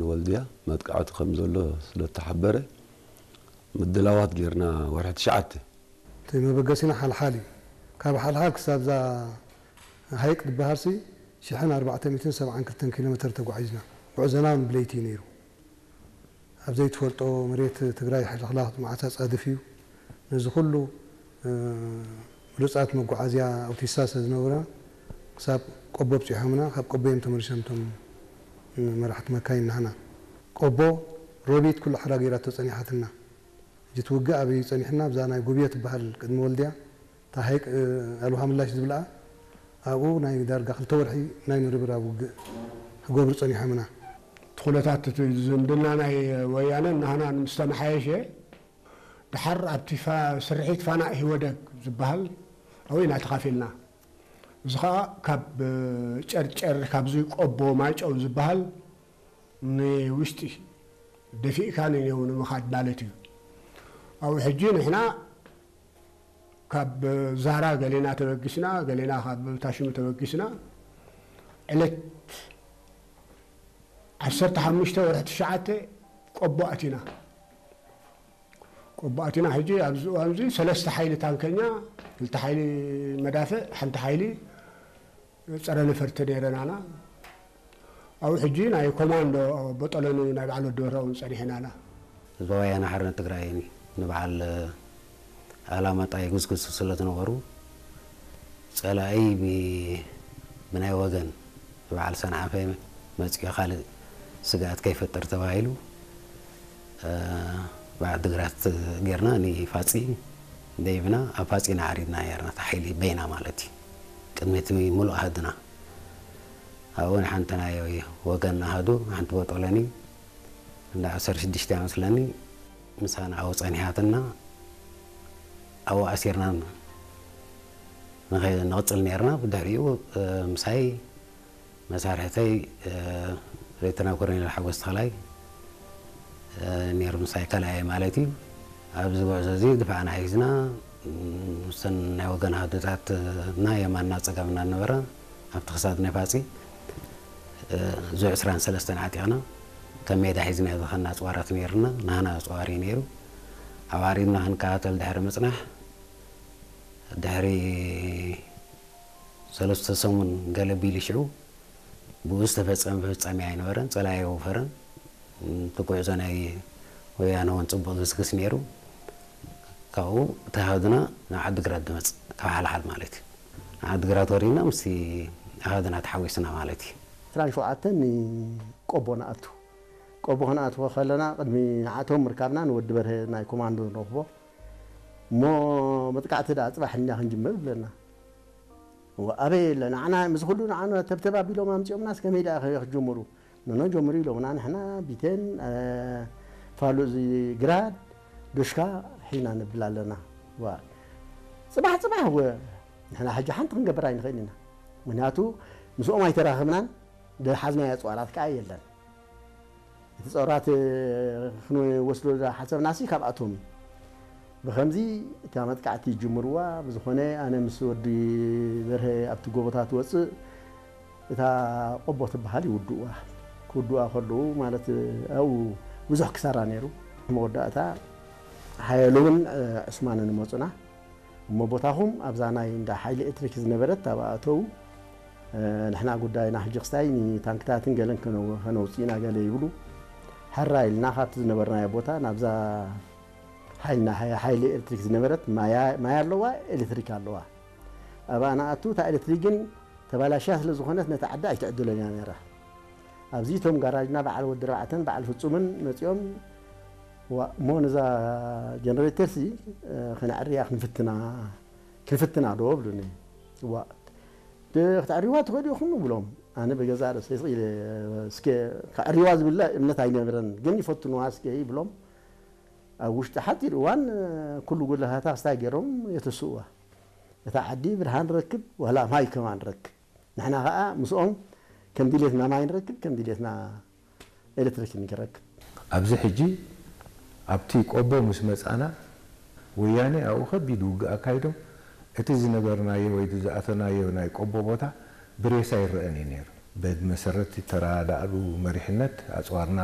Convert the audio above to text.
ንወልድያ መጥቃዕቲ ከም ዘሎ ስለ እተሓበረ፣ ምድላዋት ጌርና። ወርሒ ትሽዓተ። እቲ መበገሲና ሓልሓል እዩ። ካብ ሓልሓል ክሳብ እዛ ሃይቅ ዝበሃልሲ ሽሕን ኣርባዕተ ሚእትን ሰብዓን ክልተን ኪሎ ሜትር ተጓዒዝና። ጉዕዞና እውን ብለይቲ እዩ ነይሩ። ኣብ ዘይትፈልጦ መሬት ትግራይ ሕልኽላኽ መዓት ኣጻድፍ እዩ። ነዚ ኩሉ፣ እ፣ ብሉጻት መጓዓዝያ ኣውቲስታ ስለ ዝነበሩና፣ ክሳብ ቆቦ ኣብጺሖምና፣ ካብ ቆቦ እዮም ተመሊሶም እቶም መራሕቲ መካይን ናህና። ቆቦ ሮቢት ኩሉ ሓራ ገይራቶ ጸኒሓትና። ሕጂ እቲ ውግእ ኣበይ እዩ ጸኒሕና? ኣብዛ ናይ ጉብዮ ትበሃል ቅድሚ ወልድያ፣ እታ ሃይቅ፣ እ፣ ኣልውሃ ምላሽ ዝብልኣ፣ ኣብኡ ናይ ዳርጋ ክልተ ወርሒ ናይ ምርብራብ ውግእ ክገብሩ ጸኒሖምና። እቲ ኩነታት እቲ ዝምድና ናይ ወያነን ናህናን ምስ ተመሓየሸ፣ ድሓር ኣብቲ ፋ-፣ ስርሒት ፋና ኢህወደግ ዝበሃል ኣብኡ ኢና ተኻፊልና። እዚ ኸኣ ካብ ጨርጨር፣ ካብዚ ቆቦ ማይጨው ዝበሃል ንውሽጢ ደፊእካ ንኔው ንምኻድ ማለት እዩ። ኣብኡ ሕጂ ንሕና ካብ ዛራ ገሌና ተበጊስና፣ ገሌና ካብ ታሽሙ ተበጊስና፣ ዕለት ዓሰርተ ሓሙሽተ ወርሒ ትሽዓተ ቆቦ ኣቲና። ቆቦ ኣቲና ሕጂ ኣብዚ እዋን እዚ ሰለስተ ሓይሊ ታንከኛ፣ ክልተ ሓይሊ መዳፍዕ፣ ሓንቲ ሓይሊ ጸረ ነፈርቲ ነይረናና። ኣብኡ ሕጂ ናይ ኮማንዶ በጠሎኒ ናይ በዓል ወዲ ወራውን ጸኒሕናና። ህዝባዊ ወያነ ሓርነት ትግራይ ንበዓል ኣላማጣ ይጉስጉሱ ስለ ዝነበሩ፣ ጸላኢ ብ-፣ ብናይ ወገን በዓል ሰንዓፈ መጺኡ ካልእ ስግኣት ከይፈጥር ተባሂሉ፣ እ፣ ብዓዲ ግራት ጌርና ንፋጺ ደይብና፣ ኣብ ፋጺ ኢና ዓሪድና ነርና፣ እታ ሓይሊ በይና ማለት እዩ። ቅድሚ እቲ ምሉእ ኣሃዱና። ኣብኡ ንሓንቲ ናይ ወገን ኣሃዱ፣ ሓንቲ በጦለኒ፣ እንዳ ዓሰርተ ሽዱሽተ እያ መስለኒ፣ ምሳና ኣብኡ ጸኒሓትና፣ ኣብኡ ኣሲርና ንኸ-፣ ንቕጽል ነርና። ብድሕሪኡ፣ እ፣ ምሳይ መሳርሕተይ፣ እ፣ ሌተና ኮሎኔል ሓጎስ ተኽላይ፣ እ፣ ነይሩ ምሳይ ካልኣይ ማለት እዩ። ኣብዚ ጉዕዞ እዚ ድፋዕና ሒዝና፣ ም፣ ምስን ናይ ወገን ኣሃዱታትና የማንና ጸጋምና ነበረ። ኣብቲ ክሳድ ናይ ፋጺ፣ እ፣ ዙ ዕስራን ሰለስተን ዓጢቕና፣ ከም ሜዳ ሒዝና ዝኸና ኣጽዋራት ነይሩና፣ ናህና ኣጽዋር እዩ ነይሩ። ኣብ ዓሪድና ክንከታተል ድሕሪ ምጽናሕ፣ ድሕሪ ሰለስተ ሰሙን ገለ ቢሉ ሽዑ፣ ብኡ ዝተፈጸመ ፍጻሜ ኣይነበረን፣ ጸላኢ ኣይወፈረን። እቲ ጉዕዞ ናይ ወያነ እውን ጽቡቕ ግስግስ ነይሩ። ካብኡ እቲ ኣሃዱና ናብ ዓዲግራት ዝመጽእ፣ ካብ ሓልሓል ማለት እዩ። ናብ ዓዲግራት ወሪድና ምስቲ ኣሃዱና ተሓዊስና ማለት እዩ። ዕስራን ሸውዓተን ንቆቦ ንኣቱ። ቆቦ ክንኣትዎ ከለና፣ ቅድሚ ንዓቶም ምርካብና ንወዲ በርሀ ናይ ኮማንዶ ንረኽቦ። እሞ መጥቃዕቲ ደኣ ጽባሕ እኛ ክንጅምር ብለና። እወ፣ ኣበይ የለ፣ ንዓና፣ ምስ ኩሉ ንዓና ተብተብ ኣቢሎም ኣምጺኦምናስ ከመይ ደኣ ከ-፣ ክጅምሩ? ኖኖ፣ ጀምሩ ኢሎምና፣ ንሕና ቢቴን፣ እ፣ ፋሉዚ ግራድ፣ ዶሽካ ሒና ነብል ኣለና። ዋ፣ ጽባሕ፣ ጽባሕ፣ እወ፣ ንሕና ሕጂ ሓንቲ ክንገብር ኣይንኽእል ኢና። ምኽንያቱ፣ ምስኦም ኣይተራኸብናን፣ ዝሓዝናዮ ኣጽዋራት ከኣ የለን። እቲ ጸራት ክንወስዶ ዝሓሰብናሲ ካብኣቶም እዩ። ብኸምዚ እታ መጥቃዕቲ ይጅምርዋ። ብዝኾነ ኣነ ምስ ወዲ በርሀ ኣብቲ ጎቦታት ወጽእ እታ ቆቦ ትበሃል ይውድእዋ። ክውድእዋ ከለዉ ማለት ኣብኡ ብዙሕ ክሳራ ነይሩ። መወዳእታ ሓየሎምን ዑስማንን መጹና። እሞ ቦታኹም ኣብዛ ናይ እንዳ ሓይሊ ኤሌክትሪክ ዝነበረት ኣብኣ እተዉ። እ፣ ንሕና ጉዳይና ሕጂ ክስታይ ንታንክታትን ገለን ከነው-፣ ከነውፅእ ኢና ገለ ይብሉ። ሕራ ኢልና ካብቲ ዝነበርናዮ ቦታ ናብዛ ሓይልና፣ ሓይ-፣ ሓይሊ ኤሌክትሪክ ዝነበረት ማያ-፣ ማይ ኣለዋ፣ ኤሌክትሪክ ኣለዋ። ኣብኣ ንኣቱ፣ እታ ኤሌክትሪክ ግን ተባላሽያ ስለ ዝኾነት ነታ ዓዲ ኣይትዕድሎን እያ ነይራ። ኣብዚ እቶም ጋራጅና በዓል ወዲ ኣርባዕተን በዓል ፍጹምን መጺኦም፣ "ዋ፣ እሞ ነዛ ጀነሬተርሲ፣ እ፣ ከነዕርያ ክንፍትና፣ ክንፍትና ዶ?" ብሉኒ። "ዋ፣ ደ-፣ ከተዕርይዋ ትኽእሉ ኢኹም?" ብሎም። ኣነ ብገዛእ ርእሰይ ስቕ ኢለ፣ "እስከ ከዕርይዋ ዝብለ እምነት ኣይነበረን፣ ግን ይፈትንዋ እስከ" ይብሎም። ኣብ ውሽጢ ሓጺር እዋን፣ እ፣ ኩሉ ጉድለታታ ክስታይ ገይሮም የተስእዋ። እታ ዓዲ ብርሃን ረክብ፣ ዋላ ማይ ከማን ረክብ። ንሕና ኸኣ ምስኦም ከም ድሌትና ማይ ንረክብ፣ ከም ድሌትና ኤሌክትሪክ ንረክብ። ኣብዚ ሕጂ ኣብቲ ቆቦ ምስ መጻና፣ ወያነ ኣብኡ ከቢድ ውግእ ኣካይዶም፣ እቲ ዝነበርናዮ ወይ ዝኣተናዮ ናይ ቆቦ ቦታ ብሬሳ ይረኣን እዩ ነይሩ። ብመሰረት ተረዳእሉ መሪሕነት ኣፅዋርና